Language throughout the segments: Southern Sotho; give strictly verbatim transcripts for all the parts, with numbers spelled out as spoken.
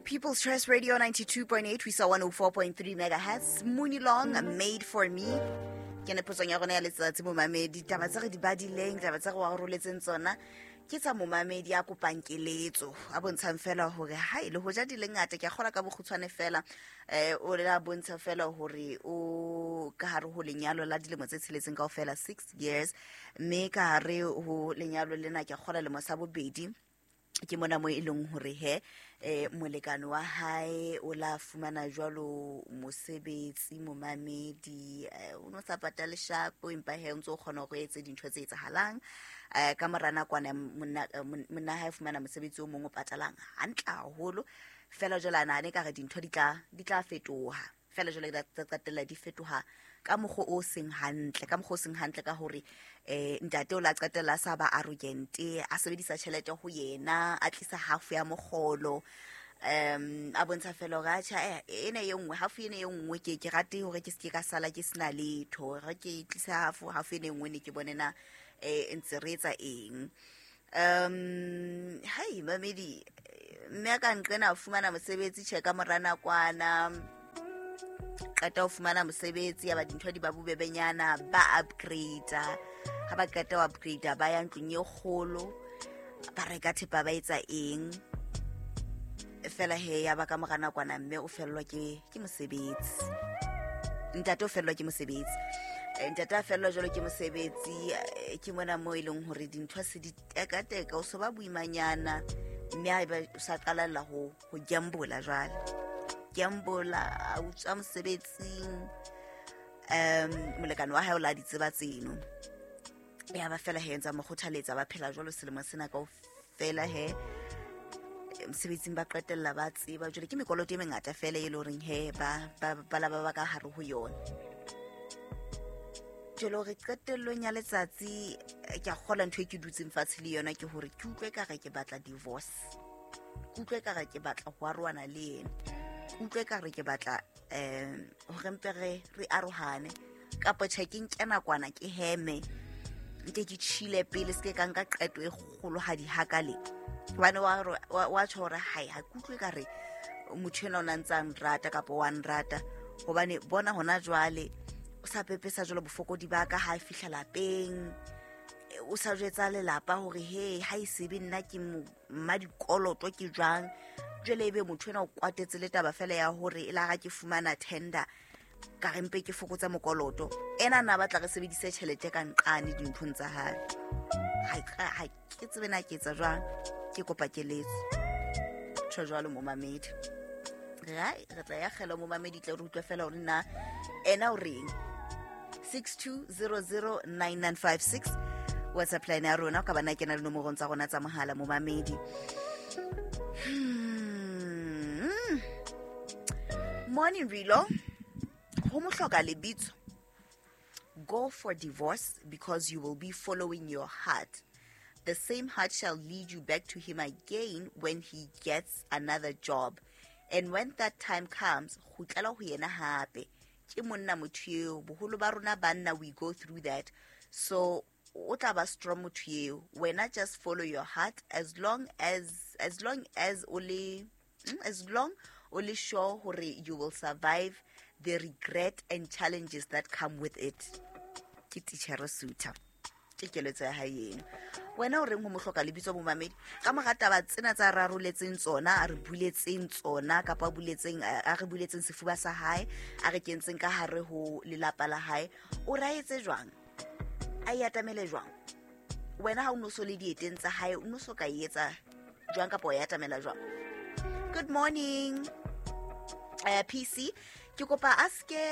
People's Choice Radio ninety-two point eight, we saw one oh four point three megahertz. Mooney Long, Made for Me. Ke ne potsong ya rona ya letsatsi momamedi, taba tse re di badileng, taba tse re wa roletseng tsona ke tsa momamedi a kopang keletso, a bontshang fela hore ha e le hoja di le ngata, ke a kgola ka bokgutshwane fela, eh o la bontsha fela hore o ka hare ho lenyalo la dilemo tse tsheletseng kaofela, six years, mme ka hare ho lenyalo lena ke a kgola lemo sa bobedi ke mona mo e leng hore he eh molekane wa hae o la fumana jwalo mosebetsi momamedi, o no sa patale shapo, empa he o ntso kgona go etse dintho tse etsahalang. Eh ka mora nakwana monna monna hae fumana mosebetsi o mong o patalang hantle haholo, fela jwale a nahane ka re dintho di tla di tla fetoha, fela jwale di tla qetella di fetoha ka mokgwa o seng hantle, ka mokgwa o seng hantle ka hore eh ntate o la qetella sa ba arrogant, a sebedisa tjhelete ho yena, a tlisa half ya mokgolo, um a bontsha fela hore atjha ena e nngwe half ena e nngwe ke ke rate hore ke se ke ka sala ke sena letho, re ke tlisa half half ena e nngwe ne ke bone na eh ntse re etsa eng. Um hai mamedi, mme ka nqena fumana mosebetsi tjhe ka mora nakwana, qeta ho fumana mosebetsi ya ba dintho di ba bubebenyana, ba upgrade, ha ba qeta ho upgrade ba ya ntlong e kgolo, ba reka thepa ba etsa eng, fela he ya ba ka mora nakwana mme o fellwa ke ke mosebetsi, ntate o fellwa ke mosebetsi, ntate a fellwa jwalo ke mosebetsi. Ke mona mo e leng hore dintho se di tekateka, o so ba boimanyana, mme ha eba o sa qalella ho ho gambola jwale, gambola a utswa mosebetsing, um molekane wa hae o la di tseba tseno, ya ba fela he ntsa mo kgothaletsa, ba phela jwalo selemo sena kaofela he mosebetsing ba qetella ba tseba jwale ke mekoloto e mengata fela e le horeng he ba ba la ba ba ka hare ho yona. Jwale hore qetellong ya letsatsi ke a kgola ntho e ke dutseng fatshe le yona ke hore ke utlwe ka re ke batla divorce, ke utlwe ka re ke batla ho arohana le yena, ke utlwe ka re ke batla um hore mpe re re arohane, kapa tjhe ke nke nakwana ke heme nke ke chile pele, se ke ka nka qeto e kgolohadi hakale, hobane wa wa tjho hore hai ha ke utlwe ka re motho ena o na ntsa nrata kapa wa nrata, hobane bona hona jwale o sa pepesa jwalo bofokodi ba ka ha fihla lapeng, o sa jwetsa lelapa hore he ha e sebe nna ke mma dikoloto ke jwang. Jwale ebe motho ena o kwatetse le taba fela ya hore e la ga ke fumana tender ka re mpe ke fokotsa mokoloto, ena na batla re sebedise tjhelete ka nqane dinthong tsa hae. Ha ha ke tsebe na ke etsa jwang, ke kopa keletso. Tjho jwalo momamedi, re re tla ya kgela momamedi tle re utlwe fela hore na ena o reng. Six two zero zero nine nine five six WhatsApp line ya rona, ka bana kena le nomorong tsa rona tsa mohala momamedi. Hmm. Morning Rilo, ho mohloka lebitso, go for divorce because you will be following your heart. The same heart shall lead you back to him again when he gets another job, and when that time comes, kgutlela ho yena hape. Ke monna motho eo, boholo ba rona banna we go through that, so o tla ba strong motho eo. Wena just follow your heart as long as as long as o le as long o le sure hore you will survive the regret and challenges that come with it. Ke teacher Suta, ke keletso ya hae eno. Wena o reng ho mohloka lebitso momamedi ka mora taba tsena tsa raroletseng tsona, a re buletseng tsona kapa buletseng a re buletseng sefuba sa hae, a re kentseng ka hare ho lelapa la hae, o raetse jwang, a e atamele jwang? Wena ha o no so le dieteng tsa hae, o no so ka etsa jwang kapa o e atamela jwang? Good morning uh, P C, ke kopa a ske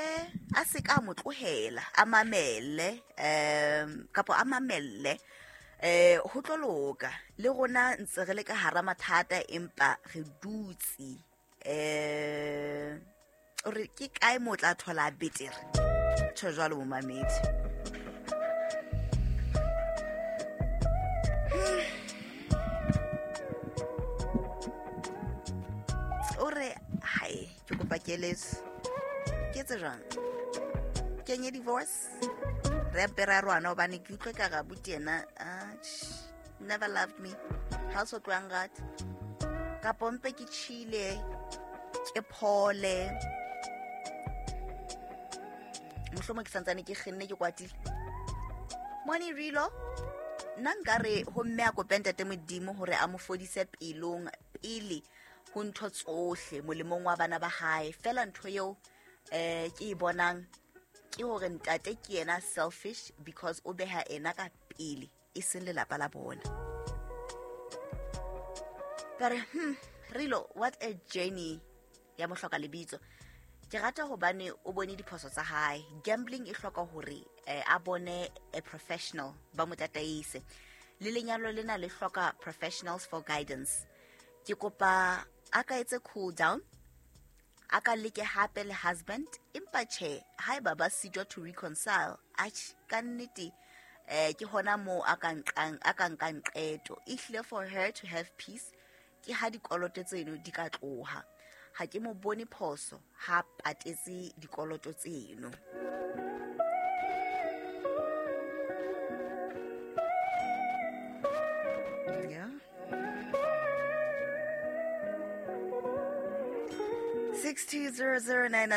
a se ka mo tlohela, a mamele um kapa a mamelle eh ho tlo loka le rona ntse re le ka hara mathata, empa re dutse eh re ke kae mo tla thola betere. Tjho jwalo momamedi. O re hai ke kopa keletso, ke etse jwang, kenye divorce, re apera rwana hobane ke utlwe ka ga buti yena never loved me, ha so tloang rata Kapo mpe ke tjhile, ke phole. Mohlomong ke santsane ke kgenne ke kwatile. Mone Rilo, nna nkare ho mme a kope ntate Modimo hore a mo fodise pelong pele ho ntho tsohle molemong wa bana ba hae. Fela ntho eo eh ke e bonang ke hore ntate ke yena selfish because o beha ena ka pele e seng lelapa la bona. Ka re, hmm, Rilo, what a journey ya mohloka lebitso. Ke rata hobane o bone diphoso tsa hae. Gambling e hloka hore eh, a bone a professional ba mo tataise. Le lenyalo lena le hloka professionals for guidance. Ke kopa a ka etse cool down, a ka leke hape le husband, empa tjhe haeba ba sitwa to reconcile, atjhe ka nnete eh ke hona moo a ka nqang a ka nkang qeto. Ehlile for her to have peace ke ha dikoloto tseno di ka tloha. Ha ke mo bone phoso ha patetse dikoloto tseno. Yeah. six two zero zero nine